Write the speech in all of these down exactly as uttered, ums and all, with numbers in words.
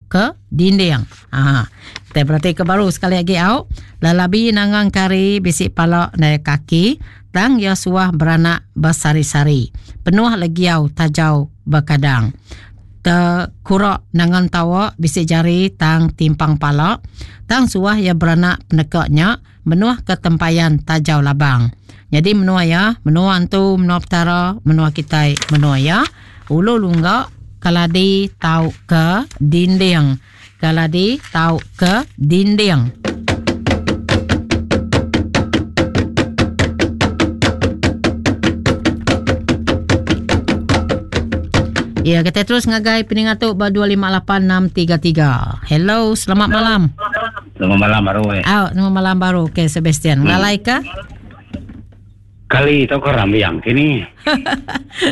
ke dinding. Ha. Kita berarti ke baru sekali lagi au. Lelabi nangang kari bisi pala naik kaki tang ya suah beranak bersari-sari. Penuh legiau tajau bekadang. Terkurak nangan tawa bisi jari tang timpang pala tang suah ya beranak penekaknya menuh ke tempayan tajau labang. Jadi menua ya, menua antu, menua petara, menua kitai, menua ya, ulu lungga kaladi tau ke dinding. Kaladi tau ke dinding. Ya, kita terus ngagai peningat tu ba dua lima lapan enam tiga tiga. Hello, selamat malam. Selamat malam baru eh. Oh, selamat malam baru. Okey, Sebastian. Hmm. Ngalai ke? Kali tau ke rambiang kini.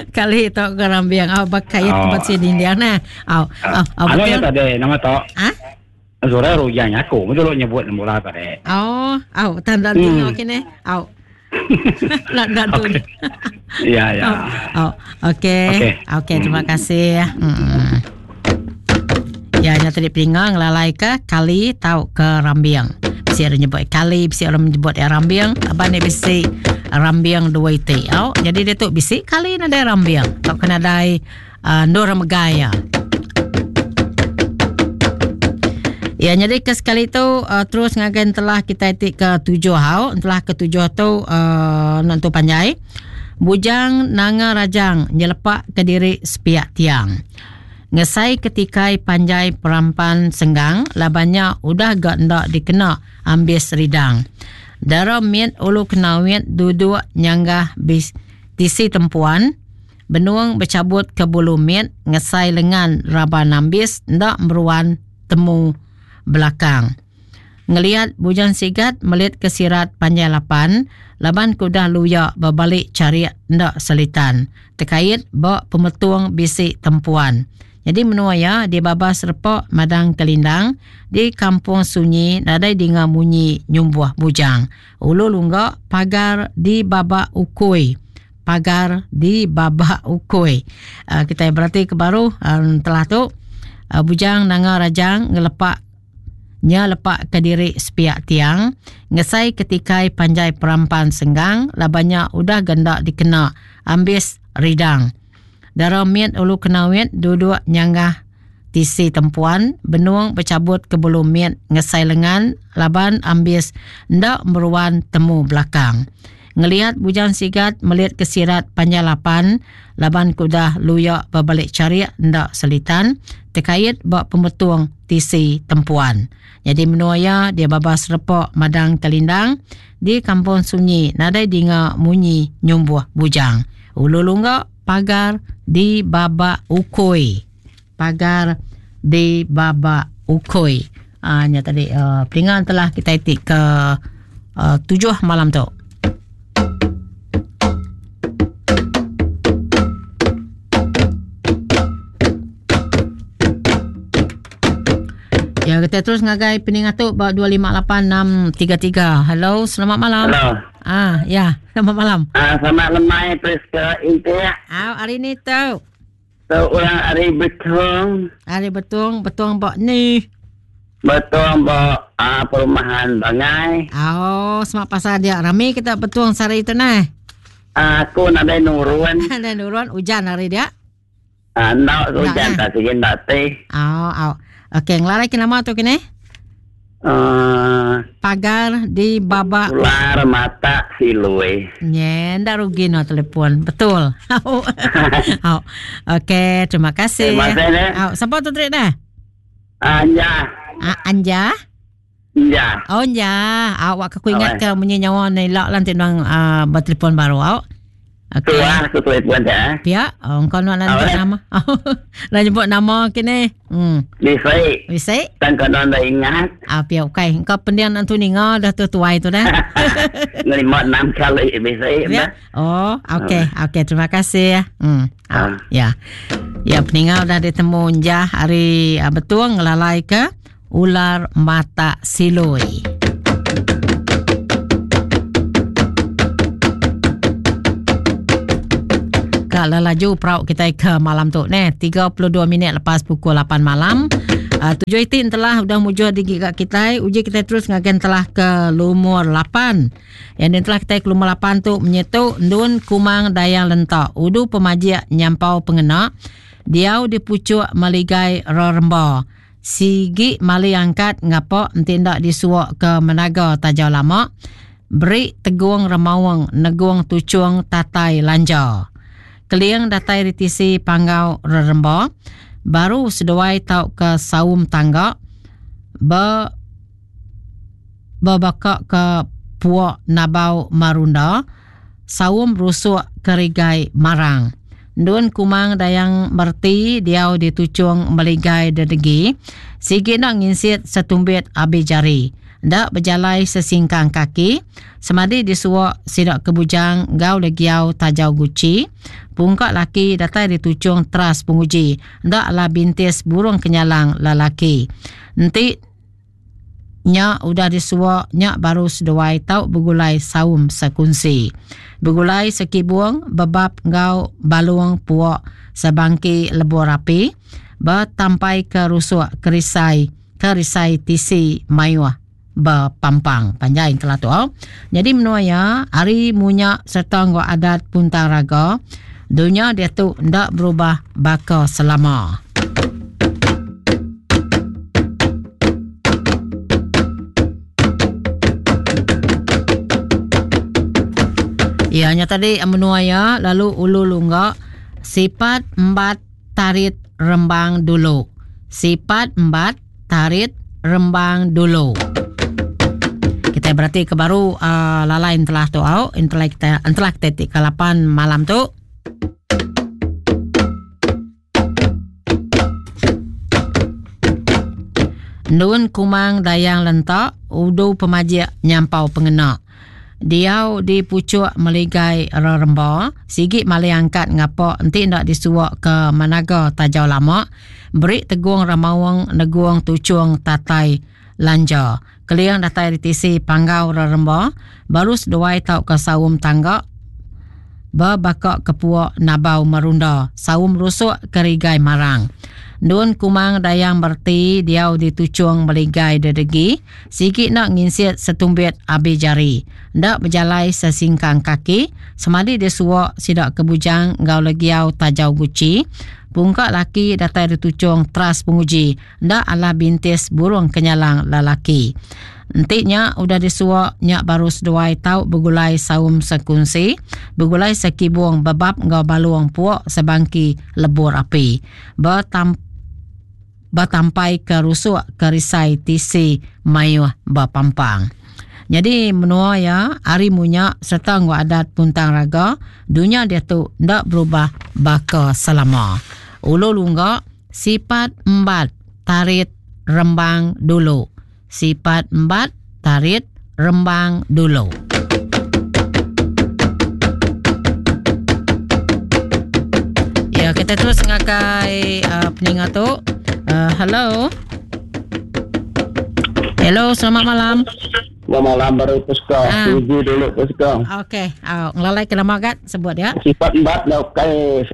Kali tau ke rambiang. Oh, bakai oh. Tempat sini dia nah. Oh, oh, oh, betul. Anu tadi nama tok. Ah? Zura rujang aku, betul nyebut mula tadi. Oh, oh, tanda hmm. kini. Oh. Nak nak tu. Ya, ya. Oh, okey. Okey, okay, terima hmm. kasih. Hmm. Ya, nya tadi pelingang lalai ke kali tau ke rambiang. Bisi orang nyebut kali, bisi orang menyebut ya rambiang. Abang ni bisi rambiang dua iti. Oh, jadi dia tu bisi kali nadai rambiang. Tau kena dai uh, nur megaya. Ya, jadi ke sekali tu uh, terus ngagen telah kita etik ke tujuh hau, telah ke tujuh tu uh, nantu panjai. Bujang nanga rajang nyelepak ke diri sepiak tiang. Ngesai ketikai panjai perampan senggang, labannya udah gak ndak dikena ambis ridang. Dara miet ulu kenawit duduk nyanggah bis tisi tempuan, benuang bercabut ke bulu miet ngesai lengan raban ambis ndak meruan temu belakang. Ngeliat bujang sigat melit ke sirat panjai lapan, laban kuda luyak berbalik cari ndak selitan. Terkait bak pemetung bisik tempuan. Jadi menua ya di babas repok madang kelindang di kampung sunyi nadai dengar bunyi nyumbuh bujang. Ulu lunggak pagar di babak ukui. Pagar di babak ukui. Uh, kita berarti ke baru um, telah tu uh, bujang nanga rajang ngelepak nya lepak ke diri sepiak tiang ngesai ketikai panjai perampan senggang labannya udah gendak dikena ambis ridang. Dara miet ulu kenawit duduk nyanggah tisi tempuan benuang bercabut ke bulu miet ngesai lengan laban ambis ndak meruan temu belakang. Ngelihat bujang sigat melihat kesirat panjang lapan laban kuda luyak berbalik cariak ndak selitan terkait bak pemetung tisi tempuan. Jadi menuaya dia babas repok madang kelindang di kampung sunyi nadai dinga munyi nyumbuh bujang. Ulu lunggak pagar di babak ukui. Pagar di babak ukui. Ah nya tadi uh, pelingan telah kita itik ke uh, tujuh malam tu. Ya, kita terus ngagai peningat tu bak dua lima lapan enam tiga tiga. Hello, selamat malam. Hello. Ah, ya, selamat malam. Ah, selamat lemai Priska Intia. Ah, hari ni tu. Tu orang hari Betung. Hari Betung, Betung bak ni. Betung bak ah, perumahan Bangai. Oh, semak pasal dia rame kita Betung sehari tu nah. Aku nak ada nurun. Ada nurun hujan hari dia. Ah, nak hujan tak sikit nak teh. Oh, oh. Okey, ngelarai ke nama tu kini? Uh, Pagar di babak ular mata silui. Nye, ndak rugi no telefon. Betul. Oh. Okey, terima kasih. Terima kasih. Oh, siapa tu trik dah? Anja. Ah, Anja? Anja. Oh, Anja. Awak aku ingat ke bunyi nyawa ni lak lantik nang uh, bertelefon baru awak. Okey. Tuah aku telefon dah. Pia, oh kau nak nak nama. Nak nyebut nama kini. Hmm. Bisai. Bisai. Tan kau nak ingat. Ah, pia okey. Kau pendiam nanti ninga dah tu tuai tu dah. Lima enam kali bisai. Ya. Oh, okey. Okey, terima kasih ya. Hmm. Ah. Ya. Ya, peninggal dah ditemu njah hari uh, betul ngelalai ke ular mata silui. Kalau laju perauk kita ke malam tu ni tiga puluh dua minit lepas pukul lapan malam. Uh, tujuh itin telah udah mujur digigak kita. Uji kita terus ngagen telah ke lumur lapan. Yang telah kita ke lumur lapan tu menyetuk Ndun Kumang Dayang Lentak. Udu pemajik nyampau pengena. Diau di pucuk maligai reremba. Sigi mali angkat ngapak tindak disuak ke menaga tajau lama. Beri tegung remawang negung tucung tatai lanja. Keliang datai ritisi panggau reremba. Baru seduai tau ke saum tangga be bebakak ke puak nabau marunda saum rusuk kerigai marang. Ndun Kumang Dayang Merti diau di tucung meligai dedegi sigi nak nginsit setumbit abi jari ndak berjalai sesingkang kaki semadi disuak sidak kebujang gau legiau tajau guci pungkak laki datai di tucung teras penguji ndak lah bintis burung kenyalang lelaki enti nyak udah disuak nyak baru seduai tau bergulai saum sekunsi bergulai sekibuang bebab gau baluang puak sebangki lebur api bertampai ke rusuk kerisai kerisai tisi mayuah berpampang panjang telah tu. Oh. Jadi menua ya hari munyak serta nggo adat puntang raga dunia dia tu ndak berubah baka selama. Ya nya tadi menua ya lalu ulu lungga sifat empat tarit rembang dulu. Sifat empat tarit rembang dulu. Kita berarti ke baru uh, lalain telah tu au entelah kita entelah kita ke lapan malam tu. Ndun Kumang Dayang Lentak udu pemajik nyampau pengena. Diau di pucuk meligai reremba sigi mali angkat ngapak enti ndak disuak ke managa tajau lama beri tegung ramawang neguang tucung tatai lanja. Keliang datai di tisi panggau reremba baru seduai tau ke saum tangga berbakak ke puak nabau merunda saum rusuk kerigai marang. Ndun Kumang Dayang Merti diau di tucung meligai dedegi sigi nak nginsit setumbit abi jari ndak berjalai sesingkang kaki semadi disuak sidak kebujang gau legiau tajau guci pungkak laki datai di tucung teras penguji ndak ala bintis burung kenyalang lelaki. Entiknya udah disuak nyak baru seduai tau bergulai saum sekunsi bergulai sekibung bebab ngau baluang puak sebangki lebur api bertam bertampai ke rusuk kerisai tisi mayuh berpampang. Jadi menua ya hari munyak serta ngau adat puntang raga dunia dia tu ndak berubah baka selama. Ulu lungga sifat empat tarit rembang dulu. Sifat empat tarit rembang dulu. Ya kita terus ngakai uh, peningat tu. Uh, hello. Hello, selamat malam. Selamat malam baru Puska. Ah. Uji dulu Puska. Okey, uh, ngelalai ke nama kat sebut ya. Sifat empat dah kai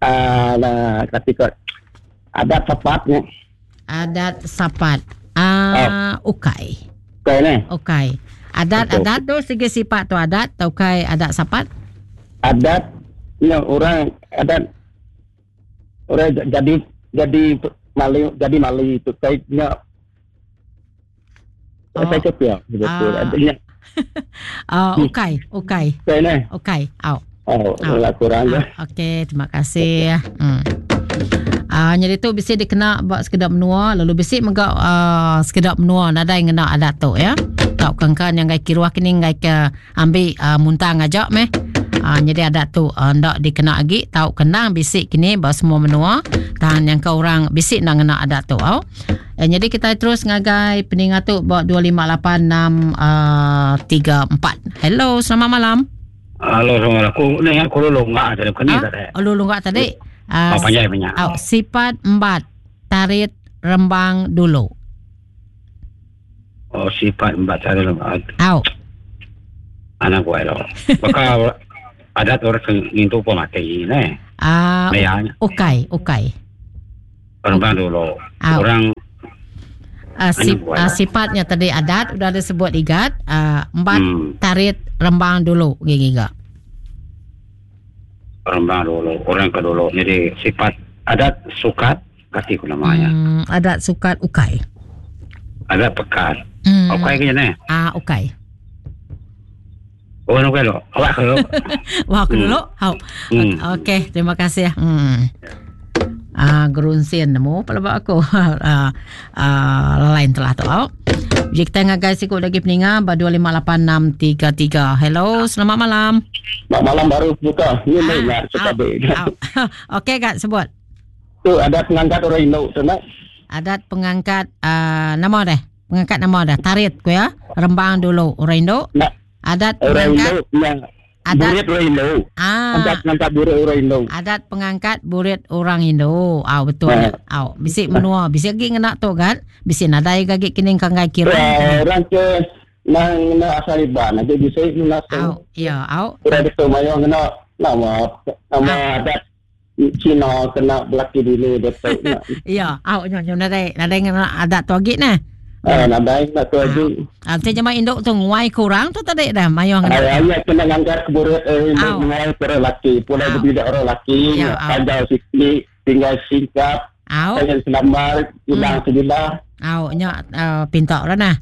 ah uh, ketika adat sapatnya. Adat sapat. Ah, uh, ukai. Ukai ni. Ukai. Adat betul. Adat tu segi sifat tu adat tau kai adat sapat. Adat ni orang adat orang jadi jadi mali jadi mali tu kainya. Oh. Saya kepia betul. Adanya. Ah, ukai, ukai. Ukai ni. Ukai. Au. Oh, lah kurang dah. Okey, terima kasih. Hmm. Ah, jadi tu bisi dikena buat sekedar menua, lalu bisi megak uh, sekedar menua nadai ngena adat tu ya. Tak kengkan yang gai kiruah kini gai ke ambil uh, muntang ajak meh. Ah, jadi adat tu uh, ndak dikena lagi, tau kenang bisik kini buat semua menua, tahan yang kau orang bisik nak ngena adat tu au. Eh, jadi kita terus ngagai peningat tu buat dua lima lapan enam tiga empat. Hello, selamat malam. Halo, assalamualaikum. Ni aku lu lunga tadi kini tadi. Lu lunga tadi. Uh, oh, panjang banyak. Oh, sifat empat tarit rembang dulu. Oh, sifat empat tarit rembang. Au. Anak gue lo. Maka adat orang ngintu pemati ni. Ah, uh, ukai, ukai. Rembang dulu. Au. Orang Uh, sip, Anu buat. uh, sifatnya tadi adat udah disebut igat uh, empat Hmm. tarit rembang dulu gigi gak. Rembang dulu, orang ke dulu. Jadi sifat adat sukat kati ku namanya. Hmm, adat sukat ukai. Adat pekat. Hmm. Ukai ke ni? Ah ukai. Oh, ukai lo. Awak ke lo. Wah aku Hmm. dulu. Hau. Hmm. Okey, terima kasih. Hmm. Ah gerunsin nemu pelabak aku. ah, ah, lain telah tu. Au. Jadi kita ngagai sikut lagi peninga ba dua lima lapan enam tiga tiga. Hello, selamat malam. Selamat malam baru buka. Ni ni nak Ah, suka be. au. Okey kak sebut. Tu ada pengangkat orang Indo tu nak. Adat pengangkat uh, nama dah. Pengangkat nama dah. Tarit ku ya. Rembang dulu orang Indo. Nak Adat orang pengangkat Indo yang adat burit orang Indo. ah Angkat pengangkat burit orang Indo. adat pengangkat burit orang Indo. Ah betul. Ah. Ah bisik menua, bisik lagi ngena tu kan. Bisik nadai gagi kining kanggai kira. Eh, Orang ke nang na asal iban nanti bisa nak Au, ya, au. Orang itu mayo kena nama nama adat Cina kena belaki dulu dia tu. nak. Ya, au nyo nyo nadai nadai ngena adat tu agi nah. Eh, nadai nak tu aja. Ah, te jama induk tu nguai kurang tu tadi dah mayo ngena. Ayah kena ngangkat keburit eh, Au. mengenai orang lelaki. Pulai Au. berbidak orang lelaki, Ya, au. panjang sikit, tinggal singkap, Au, pengen selamar, hilang Hmm. sebilah. au nyo uh, pintok lah nah.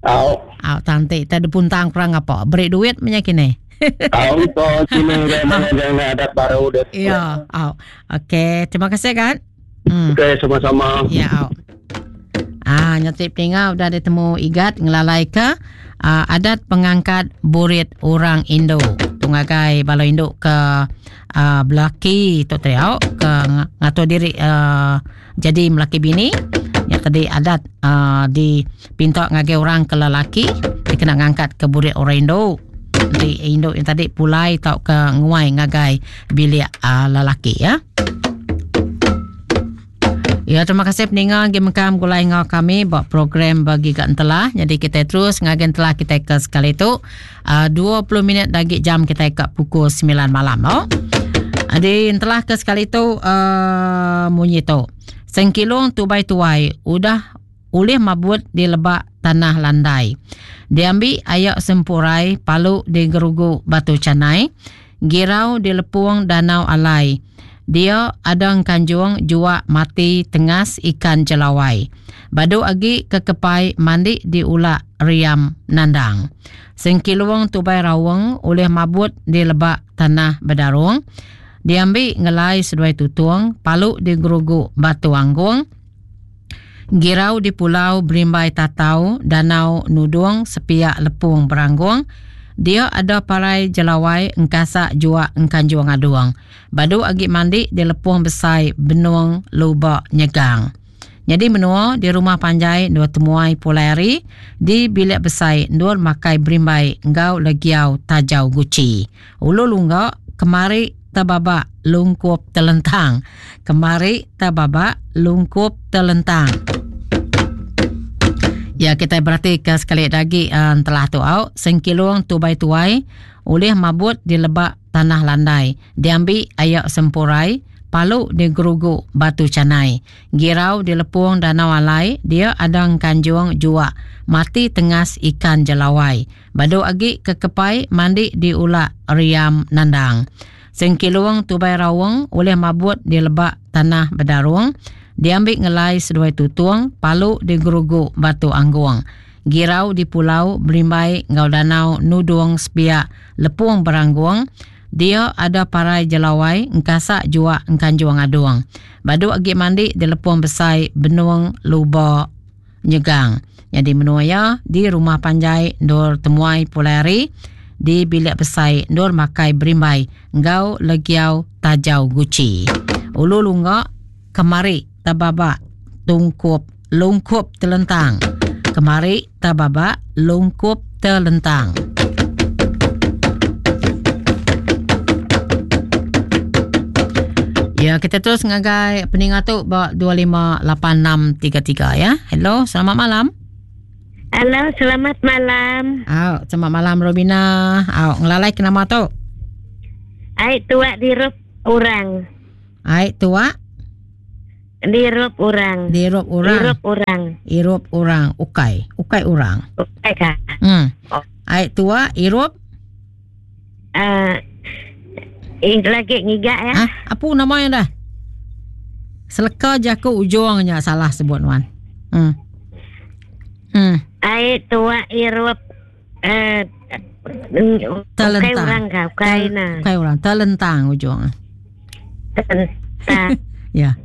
Au, Au tanti tadi puntang kurang apa? Beri duit punya kini. au to sini dia mengenai adat baru dia. Ya, au. Okey, terima kasih kan. Hmm. Okey, sama-sama. Ya, au. Ah, nyatip tinggal udah ditemu igat ngelalai ke uh, adat pengangkat burit orang Indo. Tungagai balo Indo ke uh, belaki tu tadi au ke ngatur diri uh, jadi melaki bini. Ya tadi adat uh, di pintok ngagai orang ke lelaki dia kena ngangkat ke burit orang Indo. Di Indo yang tadi pulai tau ke nguai ngagai bilik uh, lelaki ya. Ya, terima kasih peninga gi mekam gulai ngau kami buat program bagi kat entelah. Jadi kita terus ngagen telah kita ke sekali tu uh, dua puluh minit lagi jam kita ke pukul sembilan malam. Oh. Jadi entelah ke sekali tu uh, munyi tu. Sengkilung tubai tuai udah ulih mabut di lebak tanah landai. Diambil ayak sempurai palu di gerugu batu canai, girau di lepung danau alai. Dia adang kanjung juak mati tengas ikan jelawai. Badu agi kekepai mandi di ulak riam nandang. Sengkiluang tubai rawang oleh mabut di lebak tanah bedarung. Diambil ngelai seduai tutung, palu di gerugu batu anggung. Girau di pulau berimbai tatau, danau nudung sepiak lepung beranggung. Dia ada parai jelawai engkasak juak engkanjuang aduang. Badu agi mandi di lepung besai benung lubak nyegang. Jadi menua di rumah panjai dua temuai pulai di bilik besai dua makai berimbai engkau legiau tajau guci. Ulu lunggak kemari tababak lungkup telentang. Kemari tababak lungkup telentang. Ya, kita berarti ke sekali lagi uh, telah tu au sengkilung tubai tuai oleh mabut di lebak tanah landai. Diambil ayak sempurai, palu di gerugu batu canai. Girau di lepung danau alai, dia adang kanjung juak mati tengas ikan jelawai. Badu agi kekepai mandi di ulak riam nandang. Sengkilung tubai rawang oleh mabut di lebak tanah bedarung. Diambil ngelai seduai tutung, palu di gerugu batu angguang. Girau di pulau berimbai ngau danau nudung sepiak lepung berangguang. Dia ada parai jelawai, engkasak juak engkanjuang aduang. Badu agi mandi di lepung besai benung luba nyegang. Jadi menua ya di rumah panjai dor temuai pulari di bilik besai dor makai berimbai ngau legiau tajau guci. Ulu lunggak kemari tababak tungkup lungkup telentang. Kemari tababak lungkup telentang. Ya, kita terus ngagai peningat tu bak dua lima lapan enam tiga tiga ya. Hello, selamat malam. Halo, selamat malam. Au, selamat malam Robina. Au, ngelalai ke nama tu? Ai tua dirup orang. Ai tua Dirup orang. Dirup orang. Irup orang. Irup orang. Ukai. Ukai orang. Ukai kah? Hmm. Oh. Ai tua irup. Uh, lagi ngigak ya. Ah, apa namanya dah? Seleka jaku ujungnya salah sebut wan. Hmm. Hmm. Ai tua irup eh Telentang. Ukai orang kah? Ukai nah. Ukai orang. Telentang ujung. Telentang. Ya.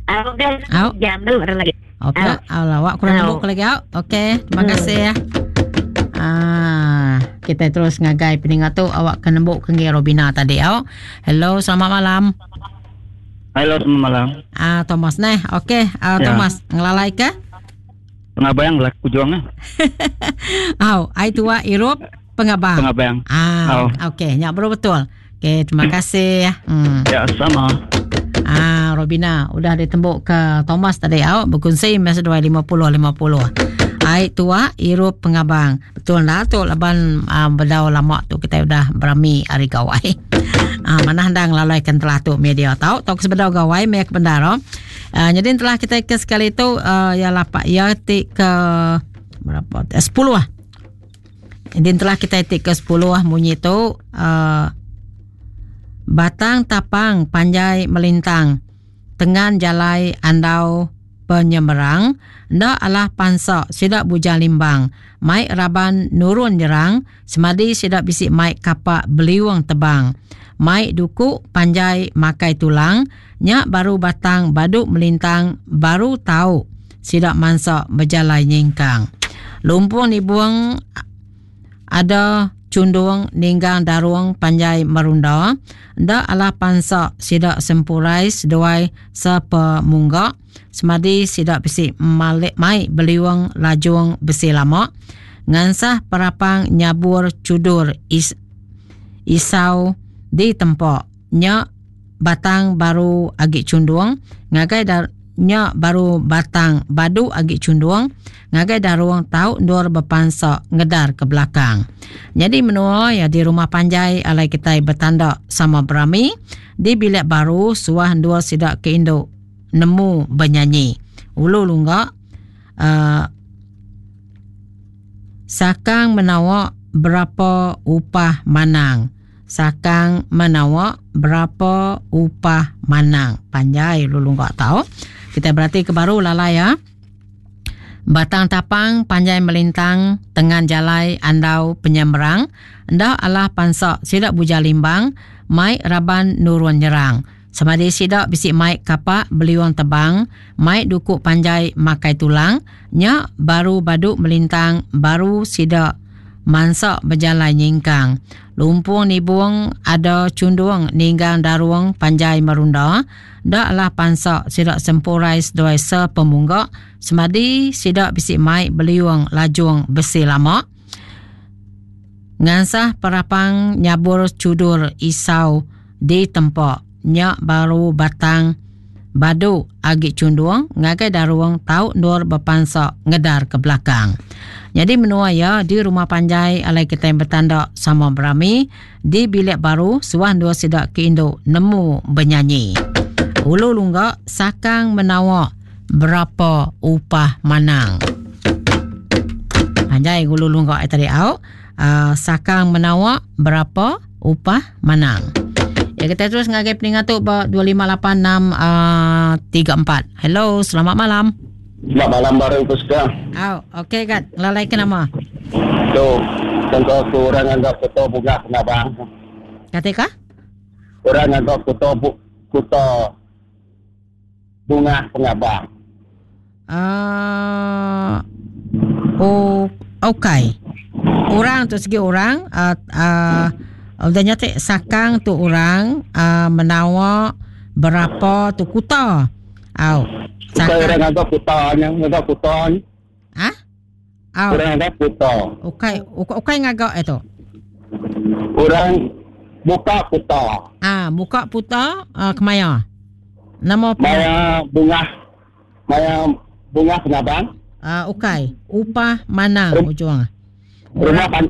Aku kan jam dulu lagi. Okey, awak kurang nembuk lagi au. Okey, terima kasih ya. Ah, kita terus ngagai peningat tu awak kena nembuk ke Robina tadi au. Hello, selamat malam. Halo, selamat malam. Ah, Thomas neh. Okey, uh, Ya. Thomas, ngelalai ke? Pengabang lah kujuang ah. Au, ai tua irup pengabang. Pengabang. Ah, Au. okey, nyak baru betul. Okey, terima kasih ya. Hmm. Ya, sama. Ah, Robina udah ditembuk ke Thomas tadi au berkongsi masa dua lima puluh lima puluh. Ai tua irup pengabang. Betul lah tu laban uh, bedau lama tu kita udah berami hari gawai. Ah, mana handang lalaikan telah tu media tau tau sebedau gawai mek bendar. Uh, jadi telah kita ke sekali tu uh, ya lapak ya ti ke berapa? Eh, sepuluh lah. Jadi telah kita ti ke sepuluh lah munyi tu uh, batang tapang panjai melintang tengan jalai andau penyemerang ndak alah pansak sidak bujang limbang mai raban nurun jerang semadi sidak bisik mai kapak beliwang tebang mai duku panjai makai tulang nyak baru batang baduk melintang baru tahu sidak mansak berjalai nyingkang lumpung nibuang ada cundung ninggang darung panjai merunda ndak alah pansak sidak sempurai seduai sepemunggak semadi sidak besi malik mai beliwang lajung besi lama ngansah perapang nyabur cudur is, isau di tempok nyak batang baru agi cundung ngagai dar nyak baru batang badu agi cundung ngagai daruang tau ndur berpansak ngedar ke belakang. Jadi menua ya di rumah panjai alai kita bertanda sama berami di bilik baru suah ndur sidak ke induk nemu bernyanyi. Ulu lunggak uh, sakang menawak berapa upah manang. Sakang menawak berapa upah manang. Panjai ulu lunggak tau. Kita berarti ke baru lalai ya. Batang tapang panjai melintang tengan jalai andau penyemerang ndak alah pansak sidak buja limbang mai raban nurun nyerang semadi sidak bisik mai kapak beliwang tebang mai duku panjai makai tulang nyak baru baduk melintang baru sidak mansak berjalan nyingkang lumpung nibung ada cundung ninggang daruang panjai merunda dak lah pansak sidak sempurai seduai sepemunggak semadi sidak bisik mai beliwang lajung besi lama ngansah perapang nyabur cudur isau di tempok nyak baru batang badu agi cundung ngagai daruang tau nur berpansak ngedar ke belakang. Jadi menua ya di rumah panjai alai kita yang bertanda sama berami di bilik baru suah dua sidak ke induk nemu bernyanyi. Ulu lunggak sakang menawak berapa upah manang. Panjai ulu lunggak tadi au uh, sakang menawak berapa upah manang. Ya kita terus ngagai peningat tu dua lima lapan enam tiga empat. Hello, selamat malam. Selamat malam baru Puspa. Oh, okey kat. Lalai ke nama? Tu, tentu aku orang anggap kuto bunga pengabang. Kata kah? Orang anggap kuto bu, kuto bunga pengabang. Uh, oh, okey. Orang tu segi orang uh, uh, udah nyatik sakang tu orang uh, menawak berapa tu kuta. Au. Sakang orang anggap kuta nya, anggap kuta. Ha? Au. Orang anggap kuta. Okey, okey ngagak itu. Orang buka kuta. Ah, buka puta uh, kemaya. Nama apa? Maya bunga. Maya bunga pengabang. Ah, uh, okey. Upah manang Rum- ujung. Rumah pan,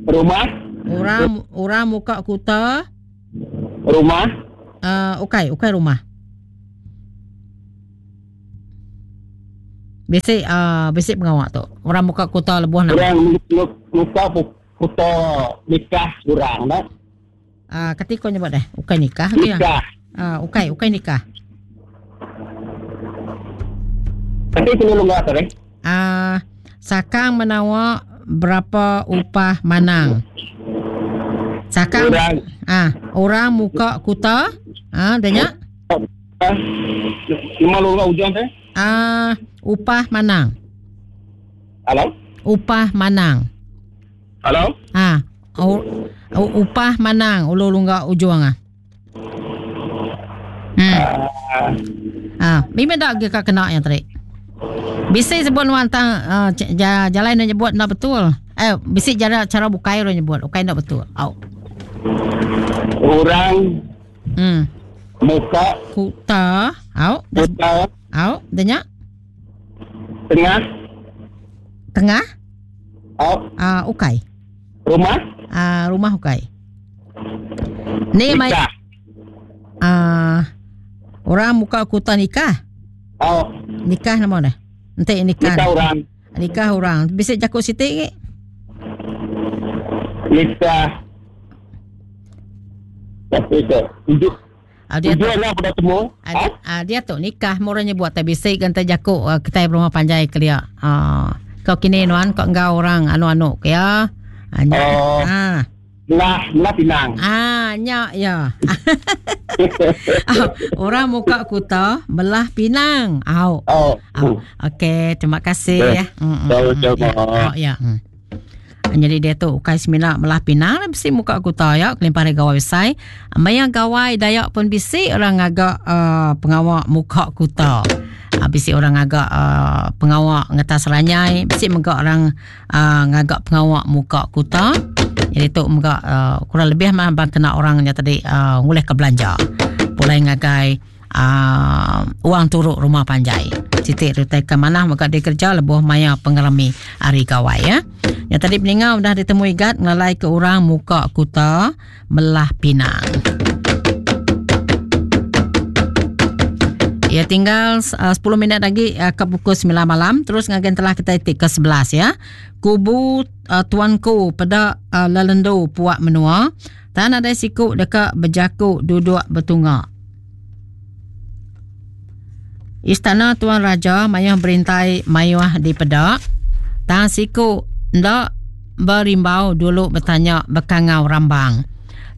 rumah Orang orang muka kuta. Rumah. Uh, okey, okey rumah. Bisi uh, bisi pengawak tu. Orang muka kuta lebuh nak. Orang muka kuta nikah orang dah. Ah, uh, ketika nyebut deh, ukai nikah ke ya? Nikah. Ah, uh, ukai, ukai nikah. Tapi perlu lunga tadi. Ah, uh, sakang menawa berapa upah manang? Sakang orang. Ah, orang muka kuta. Ah, denya. Lima lunga ujung teh. Ah, upah manang. Halo? Upah manang. Halo? Ah, u, upah manang ulu lungga ujung ah. Hmm. Uh, ah, mimpi dak ke kena yang tadi. Bisi sebut nuan tang uh, jalan nak nyebut nak betul. Eh, bisi cara cara bukai orang nyebut, ukai nak betul. Au. Orang hmm muka kuta, au. Kuta. Au, denya. Tengah. Tengah? Au. Ah, uh, ukai. Rumah? Ah, uh, rumah ukai. Ni mai. Ah, uh, orang muka kuta nikah. Oh. Nikah nama dah. Entik nikah. Nikah orang. Nikah orang. Bisa jakut sitik ke? Nikah. Tapi ke. Hidup. Ah, dia tu lah pada temu. Ah, dia, ah, dia tu nikah murahnya buat tapi bisik kan terjakut uh, kita rumah panjai kelia. Ah, kau kini nuan kau engkau orang anu-anu ke ya. Ah, nyak. Oh. Ah. Belah, belah pinang. Ah, nyak ya. Ah, orang muka kuta belah pinang. Au. Oh. Au. Okey, terima kasih Okay. ya. Mm, mm, Jauh, mm, ya. Oh, ya. Mm. Jadi dia tu ukai semina belah pinang bisi muka kuta ya kelimpah dari gawai besai. Maya gawai Dayak pun bisi orang agak uh, pengawak muka kuta. Uh, bisi orang agak uh, pengawak ngetas ranyai, bisi megak orang uh, ngagak pengawak muka kuta. Jadi tu megak uh, kurang lebih mah bang kena orangnya tadi uh, nguleh ke belanja. Pulai ngagai uh, uang turuk rumah panjai. Titik rutai ke mana maka dia kerja lebuh maya pengerami hari gawai ya. Yang tadi peninggal dah ditemui gat ngelalai ke orang muka kuta melah pinang. Ya tinggal uh, sepuluh minit lagi uh, ke pukul sembilan malam. Terus ngagen telah kita itik ke sebelas ya. Kubu uh, tuanku pada uh, lelendu puak menua. Tan ada siku dekat berjakuk duduk bertungak. Istana Tuan Raja mayuh berintai mayuh di pedak. Tan siku ndak berimbau dulu bertanya bekangau rambang.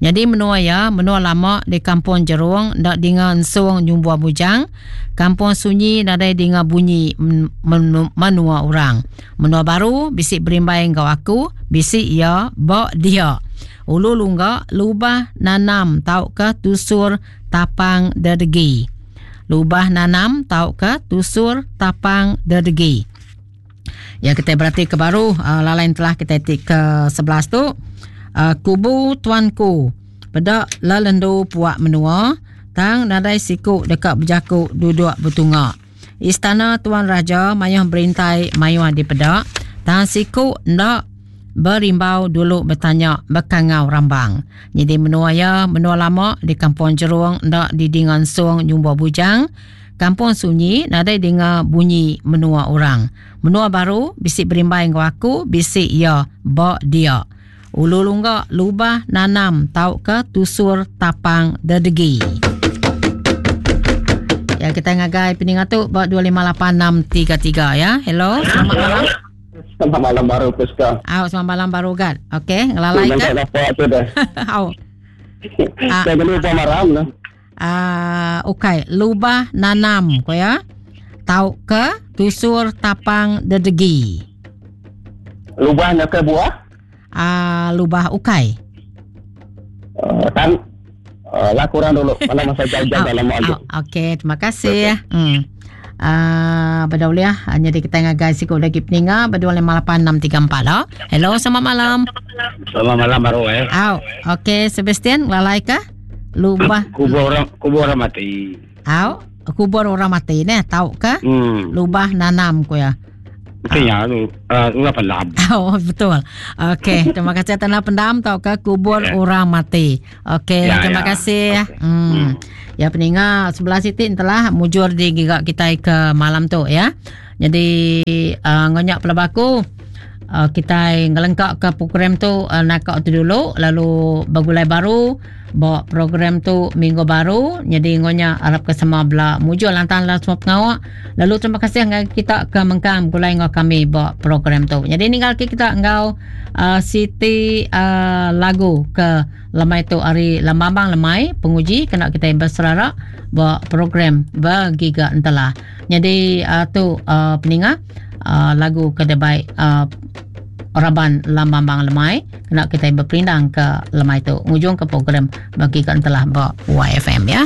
Jadi menua ya, menua lama di kampung Jerung ndak dengar ensung nyumbua bujang. Kampung sunyi nadai dengar bunyi menua orang. Menua baru bisik berimbai engkau aku, bisik ya bok dia. Ulu lungga lubah nanam tau ke tusur tapang dedegi. Lubah nanam tau ke tusur tapang dedegi. Ya kita berarti ke baru uh, lalain telah kita tik ke sebelas tu. Uh, kubu tuanku pedak lelendu puak menua tang nadai siku dekat berjakuk duduk bertungak. Istana Tuan Raja mayuh berintai mayuh di pedak tang siku ndak berimbau dulu bertanya bekangau rambang. Jadi menua ya menua lama di kampung Jerung ndak didingan sung nyumba bujang. Kampung sunyi nadai dengar bunyi menua orang. Menua baru bisik berimbai ngau aku bisik ya bok dia. Ulu lungga lubah nanam tau ke tusur tapang dedegi. Ya kita ngagai peningat tu buat dua lima lapan enam tiga tiga ya. Hello, selamat malam. Selamat malam baru Puska. Aw, selamat malam baru kan. Okey, ngelalai kan? Apa dah. Aw. Saya kena lupa malam lah. Ah, okey, lubah nanam ko ya. Tau ke tusur tapang dedegi. Lubah nak ke buah? Ah, lubah ukai. Uh, kan uh, lah kurang dulu. Mana masa jauh-jauh dalam lama. Okey, terima kasih ya. Hmm. Ah, berdauliah hanya di kita ngagai siku lagi peninga berdua lima lapan enam tiga empat lah. Hello, selamat malam. Selamat malam baru eh. Au, okey Sebastian, lalai ke? Lubah kubur orang kubur orang mati. Au, kubur orang mati ne, tahu ke? Hmm. Lubah nanam ko ya. Mestinya tu uh, ulah pendam. Oh betul. Okey, terima kasih tanah pendam tau ke kubur yeah. orang mati. Okey, ya, terima ya. kasih. Okay. Hmm. Hmm. Ya peninga sebelah sitik telah mujur di gigak kita ke malam tu ya. Jadi uh, ngonyak pelabaku uh, kita ngelengkap ke program tu uh, nakak tu dulu lalu bagulai baru bawa program tu minggu baru. Jadi ngonya harap ke semua bela mujur lantang lah semua pengawak. Lalu terima kasih dengan kita ke mengkam gulai ngau kami bawa program tu. Jadi ninggal ke kita ngau uh, Siti uh, lagu ke lemai tu hari lambang lemai penguji kena kita berserara bawa program bergiga entelah. Jadi uh, tu uh, peninga uh, lagu ke baik uh, Raban Lambang Lemai kena kita berperindang ke lemai tu ngujung ke program bagi ke entelah ba Y F M ya.